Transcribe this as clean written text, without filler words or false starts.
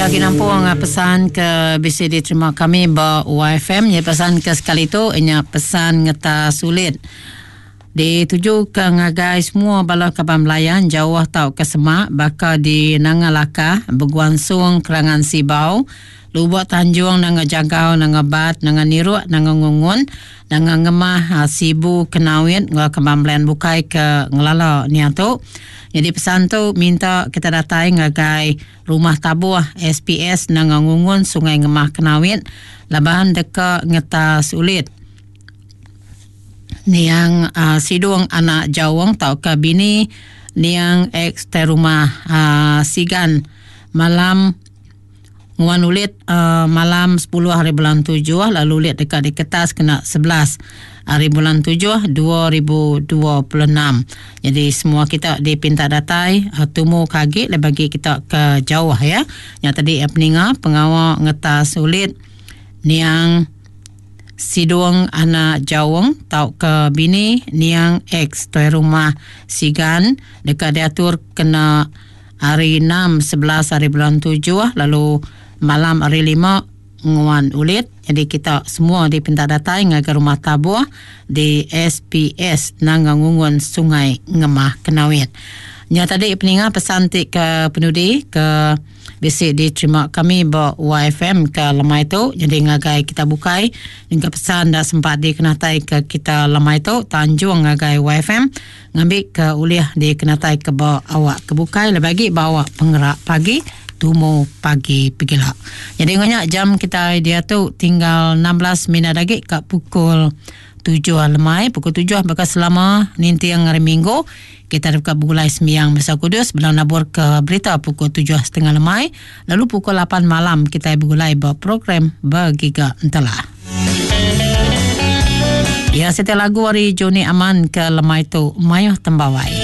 Ya agi nampung pesan ke bisi diterima kami ba YFM nya pesan ke sekali tu nya pesan ngeta sulit dituju ke ngagai semua bala kaban belayan jauh tauka semak baka di Nanga Lakah, Beguan Sung, Kerangan Sibau, Lubok Tanjung, Nanga Jagau, Nanga Bat, Nanga Niruk, Nanga Ngungun, Nanga Ngemah, Sibu, Kenawit enggau kaban belayan bukai ke ngelala nia tu. Nyadi pesan tu minta kita datai ngagai Rumah Tabuh SPS Nanga Ngungun Sungai Ngemah Kenawit laban deka ngetas ulit niang uh, Sidung anak Jawong tauka bini niang ex tai rumah uh, Sigan malam Nguan ulit uh, malam 10 hari bulan 7 lalu ulit deka diketas kena 11 hari bulan 7 2026. Jadi semua kita dipinta datai uh, tumu ke agi lebih bagi kita ke jauh ya. Nya tadi ya peninga pengawa ngetas ulit niang Sidung anak Jaung tauka bini niang ex tuai rumah Sigan deka diatur kena Hari 6, 11 hari bulan 7 lalu malam hari 5 nguan ulit. Jadi kita semua dipinta datai ngagai rumah tabuh di SPS Nanga Ngungun Sungai Ngemah Kenawit. Nya tadi peninga pesan ti ke penudi ke bisi diterima kami ba YFM ke lemai tu. Jadi ngagai kita bukai hingga pesan dah sempat dikenatai ke kita lemai tu tanjung ngagai YFM. Ngambika ulih dikenataika ba awak ke bukai lebih agi ba awak pengerak pagi tumu pagi pegila. Nyadi enggau nya jam kitai diatu tinggal 16 minit agi ka pukul tujuh lemai. Pukul tujuh baka selama ninting hari minggu kita deka begulai sembiang Misa Kudus bela nabur ke berita pukul tujuh setengah lemai lalu pukul lapan malam kitai begulai ba program Begiga Entelah. Ya siti lagu ari Johnny Aman ke lemai tu mayuh tembawai.